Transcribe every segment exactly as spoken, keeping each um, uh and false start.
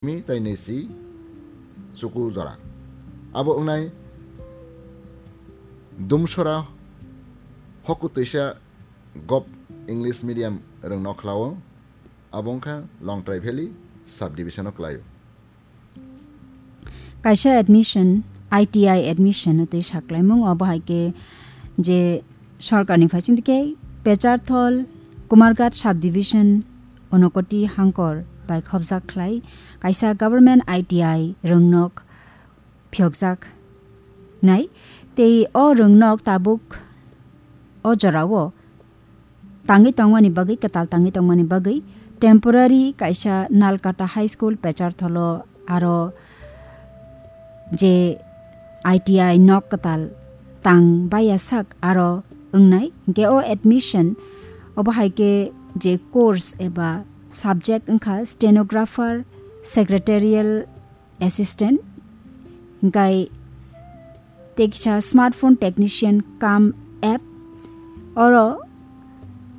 mi tai nesi chuku jora. Abo wngnai Dumsora hoku twisa gop English medium rwng nokhlao, abo wngkha Longtrai Valley subdivision o kwlaio. Kaisa admission, I T I admission tei saklaimung obo hai khe je sorkarni phaising khe Pecharthol, Kumarghat subdivision, Unokoti Hangkor bai khopjak khlai kaisa government I T I rwngnok phiyokjak nai. Tei o rwngnok tabuk o jorao tangwi tongmani bagwi, kwtal tangwi tongmani bagwi temporary kaisa Nalkata High School Pechartholo aro je I T I nok kwtal tang baya sak aro wngnai. Hinkhe o admission obo hai khe je course eba subject wngkha stenographer, secretarial assistant, hinkhe tei kisa smartphone technician cum app. Oro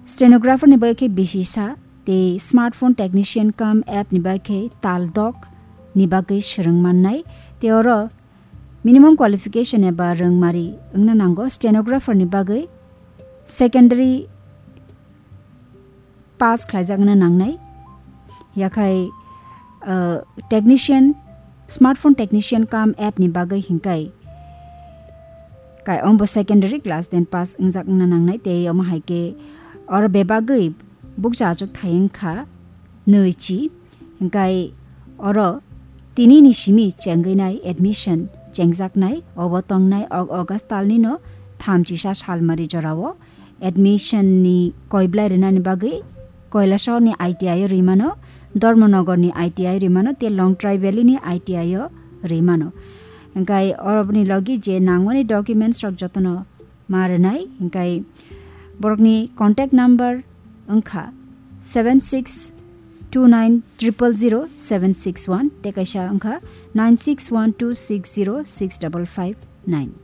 stenographer ni bagwi khe bisi sa, tei smartphone technician cum app ni bagwi khe tal dok ni bagwi swrwng mannai. Tei oro minimum qualification eba rwngmari wngna nango. Stenographer ni bagwi secondary pass khlaijakna nangnai. Yakhai, uh, technician, smartphone technician cum app ni bagwi hinkai kai ombo secondary class ten pass wngjakna nangnai, tei omo hai khe oro bebagwi bukcha achuk thai wngkha nwichi. Hinkai oro tini ni simi chengwi nai admission chengjaknai, obo tongnai Aug-, August talni no thamchisa salmari jorao. Admission ni koiblai rinani bagwi Kailasahar ni I T I o rimano, Dharmanagar ni I T I rimano, tei Longtrai Valley ni I T I o rimano. Hinkai oroboni logi je nangmani documents rok jotono ma rinai. Hinkai borokni contact number wngkha seven six two nine triple zero seven six one, tei kaisa wngkha nine six one two six zero six double five nine.